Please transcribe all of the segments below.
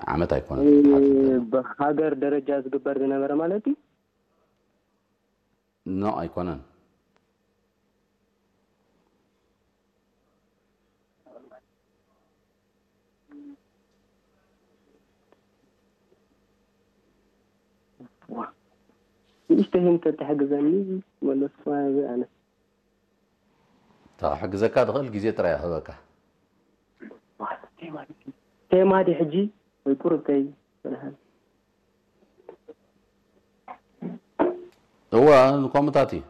ዓመት ኣይኮነን። ብሃገር ደረጃ ዝግበር ዝነበረ ማለት እዩ። ኖ ኣይኮነን። ንእሽተይ እንተትሕግዘኒ መለስኩ ኣነ። ክሕግዘካ ትኽእል ግዜ ጥራይ ክህበካ። ቴማ ድዩ ሕጂ ወይ ቁሩብ ከይ በልሃል? እወ፣ ንኮምታት እዩ።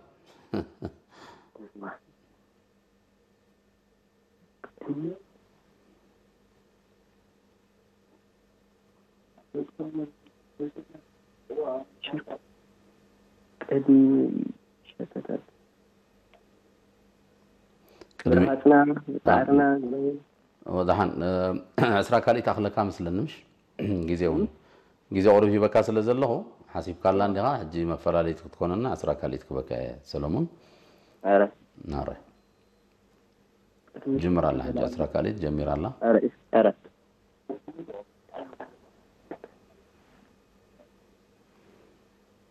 ቅድሚ ሸተታት ቅድሚ ብርሃትና ፃዕርና ወድሓን ዕስራ ካልኢት ኣኽለካ መስለኒ ምሽ ግዜ እውን ግዜ ቁሩብ ሂበካ ስለ ዘለኹ ሓሲብካላ እንዲኻ ሕጂ መፈላለይቲ ክትኮነና ዕስራ ካልኢት ክበካ እየ ሰለሙን። ኧረ ናረ ጅምር ኣላ ሕጂ ዕስራ ካልኢት ጀሚር ኣላ። ኧረ ኧረ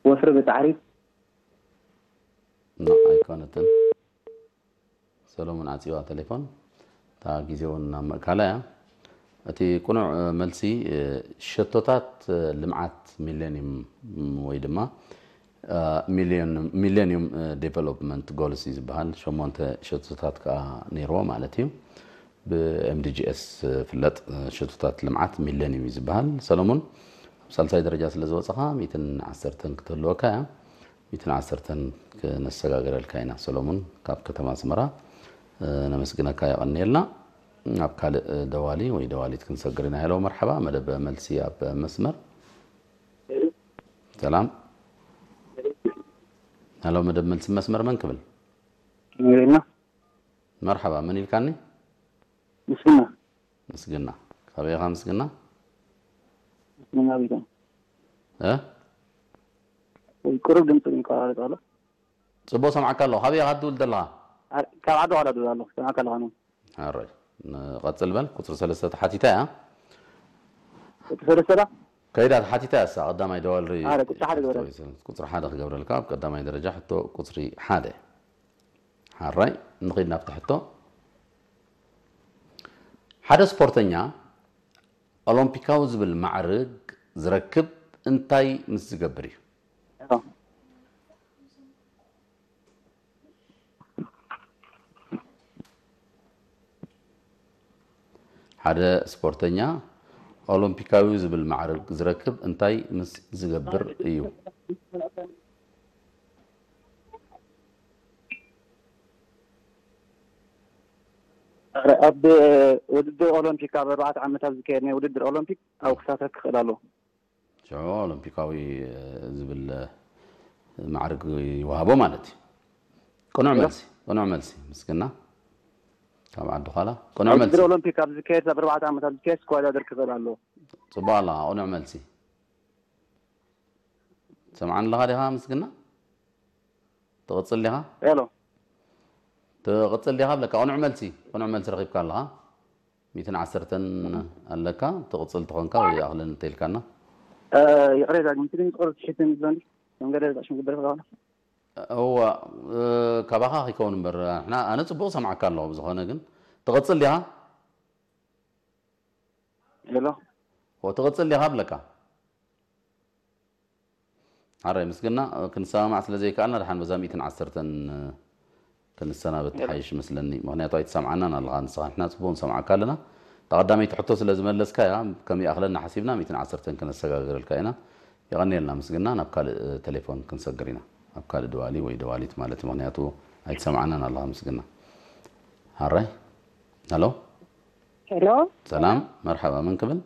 ወፍሪ ብፃዕሪ ኖ ኣይኮነትን። ሰሎሞን ዓፂዋ ቴሌፎን እታ ግዜ እውን ናብ ምእካላ እያ። እቲ ቅኑዕ መልሲ ሸቶታት ልምዓት ሚሌኒየም ወይ ድማ ሚሌኒየም ዴቨሎፕመንት ጎልስ እዩ ዝበሃል። ሸሞንተ ሸቶታት ከዓ ነይርዎ ማለት እዩ። ብ M D G S ዝፍለጥ ሸቶታት ልምዓት ሚሌኒየም እዩ ዝበሃል። ሰሎሞን ኣብ ሳልሳይ ደረጃ ስለ ዝወፀኻ ሚትን ዓሰርተን ክትህልወካ እያ። ሚትን ዓሰርተን ክነሰጋግረልካ ኢና ሰሎሙን ካብ ከተማ ኣስመራ። ነመስግነካ የቐንየልና። ናብ ካልእ ደዋሊ ወይ ደዋሊት ክንሰግር ኢና። ሄሎ መርሓባ መደብ መልሲ ኣብ መስመር። ሰላም ሄሎ መደብ መልሲ መስመር መን ክብል? ንሪና መርሓባ መን ኢልካኒ? ምስግና ምስግና ካበይ ኢኻ ምስግና? ምስግና ቢታ እ ወይ ቁሩብ ድምፂ ይቆራረጥ ኣሎ። ጽቡቕ ሰምዓካ ኣለኹ። ካበይ ኢኻ ትድውል ዘለኻ? ኣ- ካብ ዓዲ ዋላ ድውል ኣለኹ። ሰምዓካ ኣለኻ ነው። ኣሮይ ንቐጽል በል። ቁጽሪ ሰለስተ ተሓቲታ እያ። እቲ ሰለስተ ዳ ከይዳ ተሓቲታ እያ። እሳ ቀዳማይ ደዋል ሪ ኣረ፣ ቁጽሪ ሓደ ግበረል። ቁጽሪ ሓደ ክገብረልካ ኣብ ቀዳማይ ደረጃ ሕቶ ቁጽሪ ሓደ። ሓራይ ንኺድ ናብቲ ሕቶ። ሓደ ስፖርተኛ ኦሎምፒካዊ ዝብል ማዕርግ ዝረክብ እንታይ ምስ ዝገብር እዩ? ሓደ ስፖርተኛ ኦሎምፒካዊ ዝብል ማዕርግ ዝረክብ እንታይ ምስ ዝገብር እዩ? ኣብ ውድድር ኦሎምፒክ ኣብ ኣርባዕተ ዓመታት ዝካየድ ናይ ውድድር ኦሎምፒክ ኣብ ክሳተፍ ክኽእል ኣለዎ። ሽዑ ኦሎምፒካዊ ዝብል ማዕርግ ይወሃቦ ማለት እዩ። ቅኑዕ መልሲ፣ ቅኑዕ መልሲ ምስግና ካብ ዓዲ ዃላ ቅኑዕ ኣብ መልሲ። ውድድር ኦሎምፒክ ኣብ ዝካየድ ኣብ ኣርባዕተ ዓመታት ዝካየድ ክወዳደር ክኽእል ኣለዎ። ጽቡቕ ኣለኻ፣ ቅኑዕ መልሲ። ሰምዓኒ ኣለኻ ዲኻ ምስግና? ትቕጽል ዲኻ? ሄሎ ትቕጽል ዲኻ ብለካ። ቅኑዕ መልሲ፣ ቅኑዕ መልሲ ረኺብካ ኣለኻ። ሚእትን ዓሰርተን ኣለካ። ትቕጽል ተኾንካ ወይ ይኣኽለኒ እንተኢልካና። ይቕሬታ ግን ትግርኛ ቁርብ ትሽትን ይብሎ እንዲ መንገደ ዛሽ ምግበር ፈቃ እዋ ካባኻ ከይከውን እምበር ንሕና ኣነ ጽቡቕ ሰምዓካ ኣለኹ። ብዝኾነ ግን ትቕጽል ዲኻ? ሄሎ ትቕጽል ዲኻ ብለካ። ሓራይ ምስግና ክንሰማማዕ ስለ ዘይከኣልና ደሓን በዛ ሚእትን ዓሰርተን ክንሰናበት ሓይሽ መስለኒ። ምኽንያቱ ኣይትሰምዓናን ኣለኻ ንስኻ። ንሕና ጽቡቕ ንሰምዓካ ኣለና። እታ ቀዳመይቲ ሕቶ ስለ ዝመለስካያ ከም ይኣኽለና ሓሲብና ሚእትን ዓሰርተን ክነሰጋግረልካ ኢና። የቐንየልና ምስግና። ናብ ካልእ ቴሌፎን ክንሰግር ኢና። ኣብ ካልእ ደዋሊ ወይ ደዋሊት ማለት እዩ። ምኽንያቱ ኣይትሰምዓናን ኣለኻ ምስግና። ሓራይ ሄሎ ሄሎ ሰላም መርሓባ መን ክብል?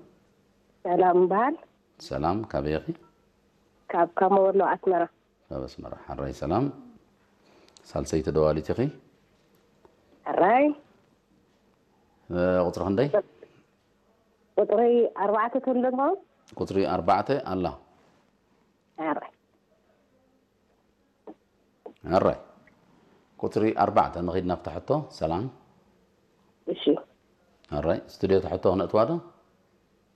ሰላም እምበሃል ሰላም ካበይ ኢኺ? ካብ ካሞ ወሎ ኣስመራ ካብ ኣስመራ ሓራይ ሰላም። ሳልሰይቲ ደዋሊት ኢኺ? ሕራይ ቁፅሪ ክንደይ? ቁፅሪ ኣርባዕተ ትብል ዶ ትኸውን? ቁፅሪ ኣርባዕተ ኣላ። ሕራይ ሕራይ ቁፅሪ ኣርባዕተ ንኺድ ናብታ ሕቶ። ሰላም እሺ ሕራይ ስቱድዮ ትሕቶ ክነእትዋ ዶ?